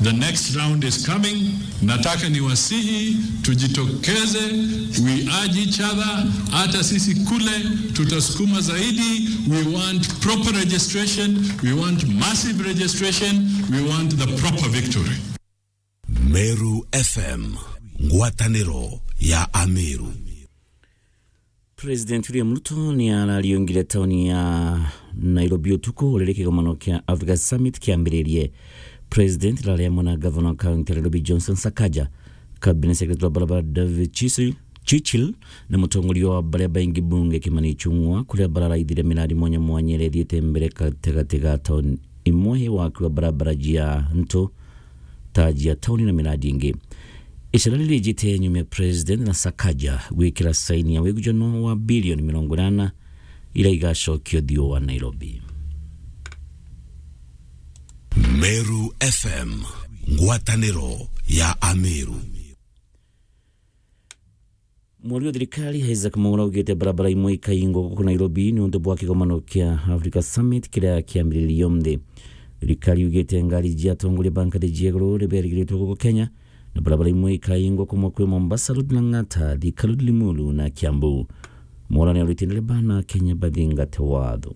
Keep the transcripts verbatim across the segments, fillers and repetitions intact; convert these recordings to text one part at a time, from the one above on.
The next round is coming. Nataka niwasihi tujitokeze, we urge each other. Hata sisi kule tutasukuma zaidi. We want proper registration, we want massive registration, we want the proper victory. Meru F M, ngwatanĩro ya Ameru. President William Ruto ni arariungire tauni ya Nairobi utuku riria kigomano kia Africa Summit kiambiririe. President arari amwe na gavana wa kaunti ya Nairobi Johnson Sakaja, cabinet secretary wa barabara David Chichil, Chichil na mutongoria wa baria baingi bunge Kimani Ichung'wa, kuria bararaithire miradi mwanya mwanya iria ithiite mbere gatigati ga tauni imwe, waki wa barabara jia ntu, taji ya tauni na miradi ingi. Icera riri rijite nyuma ya President na Sakaja gwikira saini ya wigujano wa bilioni mirongo inana iria igacokio thiu wa Nairobi. Meru F M, ngwatanĩro ya Ameru. Mwari wa thirikari Isaac Mwaura augite barabara imwe ikaingwa guku Nairobi ni untu bwa kigomano kia Africa Summit kiria kiambiririe umunthi. Thirikari yugite ngari jia atongoria ba ngathi jia iguru ni berigiritwe guku Kenya, na barabara imwe ikaingwa kumwe kwi Mombasa Road, Lang'ata, Thika Road, Limuru na Kiambu. Mwaura ni aurite ndereba na Kenya bathingate watho.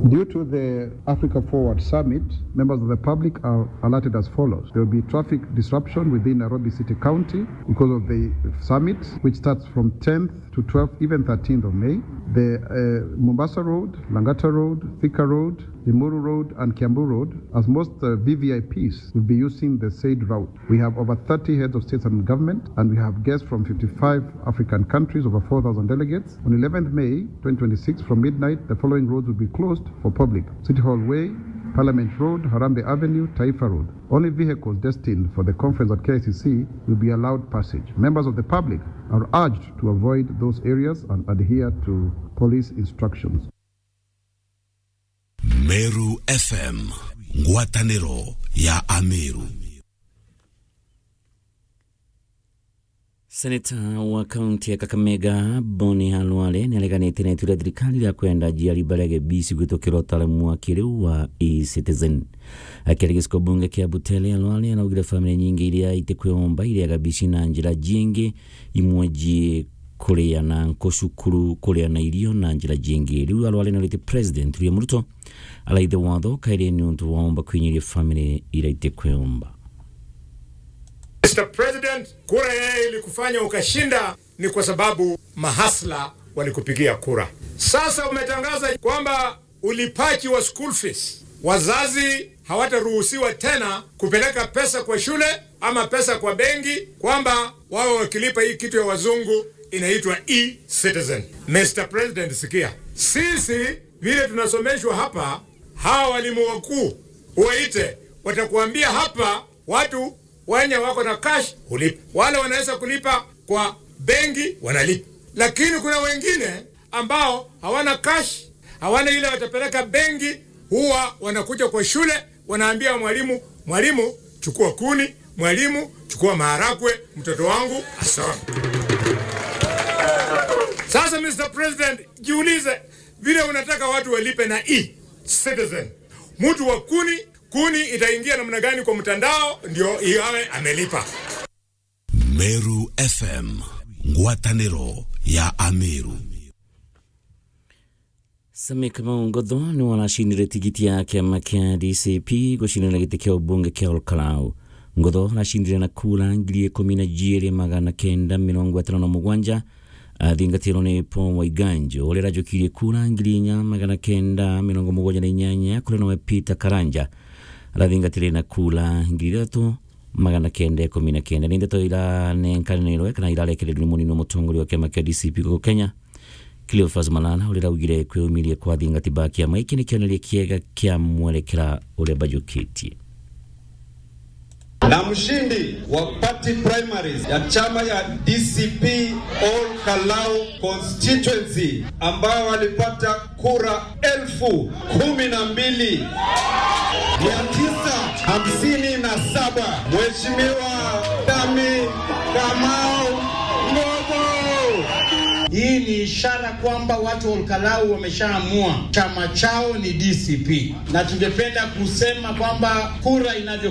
Due to the Africa Forward Summit, members of the public are alerted as follows. There will be traffic disruption within Nairobi City County because of the summit, which starts from tenth to twelfth, even thirteenth of May. The, uh, Mombasa Road, Lang'ata Road, Thika Road, Limuru Road, and Kiambu Road, as most, uh, V V I Ps will be using the said route. We have over thirty heads of states and government, and we have guests from fifty-five African countries, over four thousand delegates. On eleventh May twenty twenty-six, from midnight, the following roads will be closed for public: City Hall Way, Parliament Road, Harambee Avenue, Taifa Road. Only vehicles destined for the conference at K I C C will be allowed passage. Members of the public are urged to avoid those areas and adhere to police instructions. Meru F M, ngwatanĩro ya Ameru. Seneta wa kaunti ya Kakamega, Boni Khalwale, ni areganite na itua ria thirikari ria kwenda aciari baria Kibisi kwitukira utaaramu wa kiriu wa e-Citizen. Akiaria giciko bunge kia Butere, Khalwale araugire family nyingi iria itikwiomba iria Kibisi na njira jingi, imwe ji kuria na nku cukuru, kuria na irio na njira jingi. Riu Khalwale ni aurite President William Ruto araithe watho kairi ni untu waomba kwinyiria family iria itikwiomba. Mister President, kura yeye ilikufanya ukashinda ni kwa sababu mahasla walikupigia kura. Sasa umetangaza kwamba ulipaji wa school fees, wazazi hawataruhusiwa tena kupeleka pesa kwa shule ama pesa kwa benki, kwamba wawe wakilipa hii kitu ya wazungu inaitwa e-Citizen. Mister President, sikia, sisi vile tunasomeshwa hapa, hawa walimu wakuu uwaite, watakuambia hapa watu wenye wako na cash hulipa, wale wanaweza kulipa kwa benki wanalipa, lakini kuna wengine ambao hawana cash, hawana ile watapeleka benki, huwa wanakuja kwa shule, wanaambia mwalimu, "Mwalimu, chukua kuni, mwalimu, chukua maharagwe, mtoto wangu asome." Sasa, Mister President, jiulize, vile unataka watu walipe na e-Citizen, mtu wa kuni, kuni itaingia namna gani kwa mtandao ndio iawe amelipa? Meru F M, ngwatanĩro ya Ameru. Sami Kamau Ngotho ni waracindire tigiti ya kiama kia D C P gucindana giti kia ubunge kia Ol Kalou. Ngotho aracindire na kura ngiri ikumi na jiiri magana kenda mirongo itano na mugwanja, athingatirwo ni Paul Waiganjo, uria arajukirie kura ngiri inya magana kenda mirongo mugwanja na inyanya, kuria nawe Peter Karanja arathingatire na kura ngiri ithatu magana kenda ikumi na kenda. Ni ndeto iranenkanirwe kana irarekererirwe ni munini wa mutongoria wa kiama kia D C P guku Kenya, Cleophas Malala, uria araugire kwiumiria kwa athingati ba kiama giki ni kioneria kiega kia mwerekera uria bajukitie. Na mshindi wa party primaries ya chama ya D C P Ol Kalou constituency, ambao walipata kura elfu kumi na mbili mia tisa hamsini na saba, Mheshimiwa Sami Kamau Ngotho. Hii ni ishara kwamba watu wa Ol Kalou wameshaamua chama chao ni D C P, na tungependa kusema kwamba kura inavyo